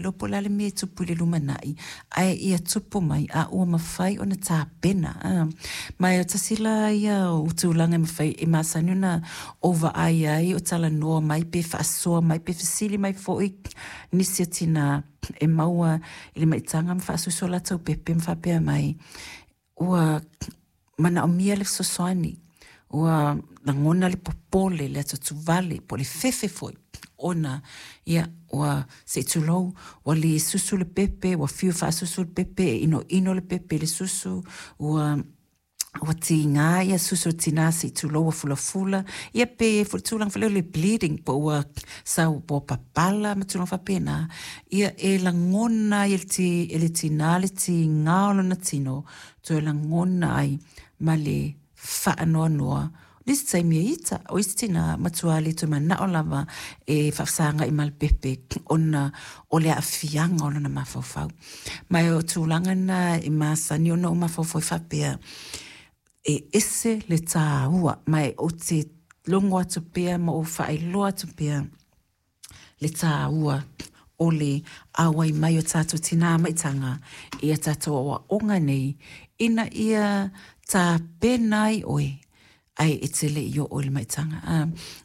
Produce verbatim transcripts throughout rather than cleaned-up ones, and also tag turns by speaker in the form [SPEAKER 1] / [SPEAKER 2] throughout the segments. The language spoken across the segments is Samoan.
[SPEAKER 1] Iloa po o le a le mea e tupu i le lumanai, ae ia tupu mai a ua mafai ona tapena. A. Ma e o tasi la ia o tulaga e mafai e masani ona ou vaai ai o talanoa mai pe faasoa mai pe fesili mai foi nisi o tinā e maua i le maitaga ma faasusu o latou pepe ma faapea mai, ua manaomia le fesoasoani, ua lagona le popole, le atuatuvale, po o le fefe foi, ona ia ua se i tulou, ua le susu le pepe, ua fiu e faasusu le pepe, e inoino le pepe i le susu, ua ua tiga ia susu o tina se i tulou ua fulafula, ia pe foi le tulaga foi lea o le bleeding po ua sau po ua papala ma tulaga faapena. Ia e lagona ai e le ti, e le tina le tiga o lona tino, toe lagona ai ma le faanoanoa. Nisi taimi e ita, o isi tina matua le toe manao lava e faafesagai ma le pepe ona o le aafiaga o lona mafaufau. Ma o tulaga na e masani ona ou mafaufau ai faapea, e ese le tāua, ma e ou te logo atu pea ma ou faailoa atu pea le tāua o le auai mai o tatou tinā maitaga i a tatou aoaoga nei, ina ia tapena ai oe, ae e te le i oo i le maitaga. A,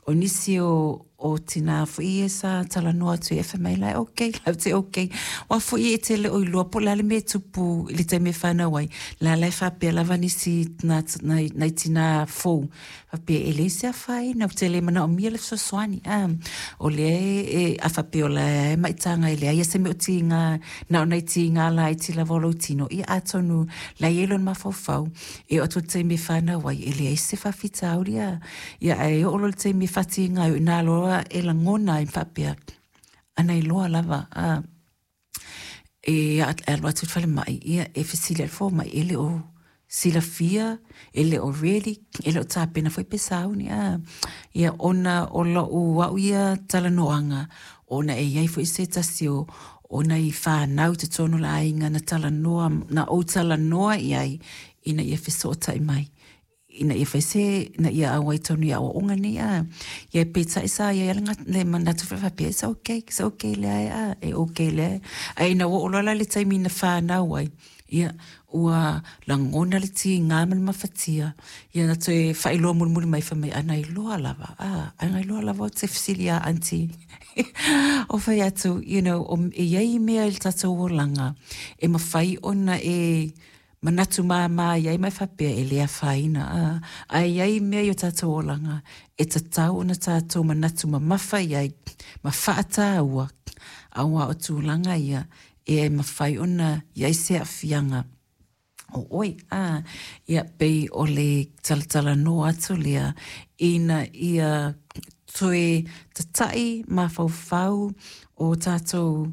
[SPEAKER 1] o nisi o, o tinā foi ia sa talanoa atu i fai mai la e okay, lau te okay. Aua foi e te le o iloa po o le a le mea e tupu i le taimi e fanau ai, la la e faapea lava nisi nai, nai, nai tinā fou, faapea e leai se afaina, ou te le manaomia le fesoasoani. A, o lea e, a faapea o la e maitaga e leai se mea o tiga, na o nai tiga laiti lava o lou tino, ia atonu la e i ai lona mafaufau, e oo atu i le taimi e fanau ai, e leai se faafitauli a. Ia ae oo loa i le taimi e faatiga ai, o i ina loa e lagona ai ma faapea, ana iloa lava, a, e alu atu i le falemai, ia e fesili atu le fomai, e le o silafia, e le o ready, e le o tapena foi pe sauni. A. Ia ona o lou au ia talanoaga, ona e i ai foi se tasi o o nai fanau i totonu o le aiga na talanoa, na ou talanoa i ai, ina ia fesootai mai, ina ia fai se, ina ia auai tonu i aoaoga nei a. Ia peitai sa i ai lava le manatu foi faapea, it's okay, it's okay lea e a, e okay lea. Ae ina ua oo loa la i le taimi na fanau ai, ia ua lagona le tiga ma le mafatia, ia na toe faailoa mulimuli mai fai mai, ana iloa lava, a, ana iloa lava ou te fesili ia aunty. O fai atu, you know, o, e i ai mea i le tatou olaga, e mafai ona e manatu māmā i ai ma e faapea e le afaina, a, ae i ai mea i o tatou olaga, e tatau ona tatou manatu mamafa i ai, ma faataua, aua o tulaga ia, e mafai ona i ai se aafiaga o oe. A, ia pei o le talatalanoa atu lea, ina ia toe tata'i mafaufau o tatou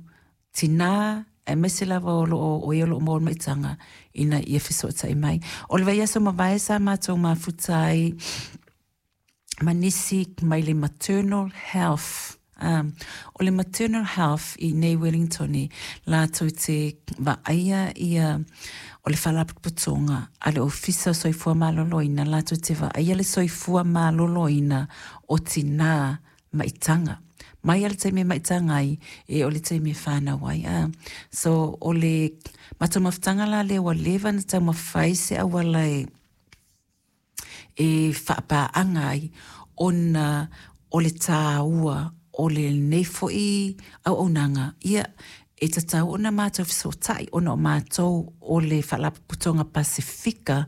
[SPEAKER 1] tinā, aemaise lava o loo o e o loo maua le maitaga, ina ia fesootai mai. O le vaiaso mavae sa matou mafuta ai ma nisi mai le maternal health. Um, o le maternal health i nei Wellington, latou te vaaia ia o le faalapotopotoga a le Ofisa o Soifua Maloloina, latou te vaaia le soifua maloloina o tinā maitaga. Mai lava le taimi e maitaga ai, e o le taimi e fanau ai. A. So, o le matou mafutaga la lea ua leva ona taumafai se auala e e faapaaga ai, ona o le tāua o lenei foi auaunaga, ia e tatau ona matou fesootai, ona o matou o le Faalapotopotoga Pasefika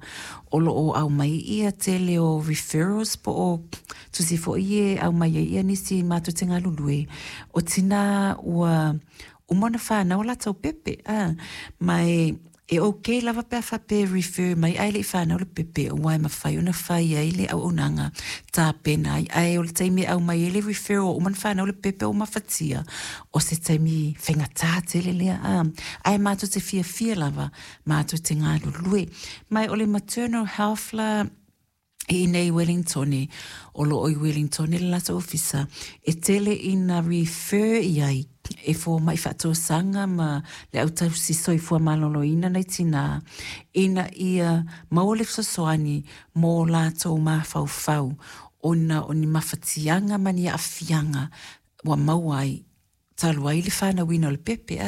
[SPEAKER 1] o lo o aumai ia tele o referrals po o tusi foi e aumai ai ia nisi matou te galulue, o tinā ua uma ona fanau o latou pepe. A, ma e e okay lava pe a faapea e refer mai ae le i fanau le pepe, aua e mafai ona fai ai le auaunaga tapena ai, ae o le taimi e aumai ai le referral ua uma ona fanau le pepe ua mafatia, o se taimi faigata tele lea. A, ae matou te fiafia lava matou te galulue. Ma o le maternal health la i inei i Wellington, o loo i Wellington le latou ofisa, e tele ina refer i ai e fomai faatosaga ma le au tausi soifua maloloina nai tinā, ina ia maua le fesoasoani mo latou mafaufau, ona o ni mafatiaga ma ni aafiaga ua maua ai talu ai le fanauina o le pepe.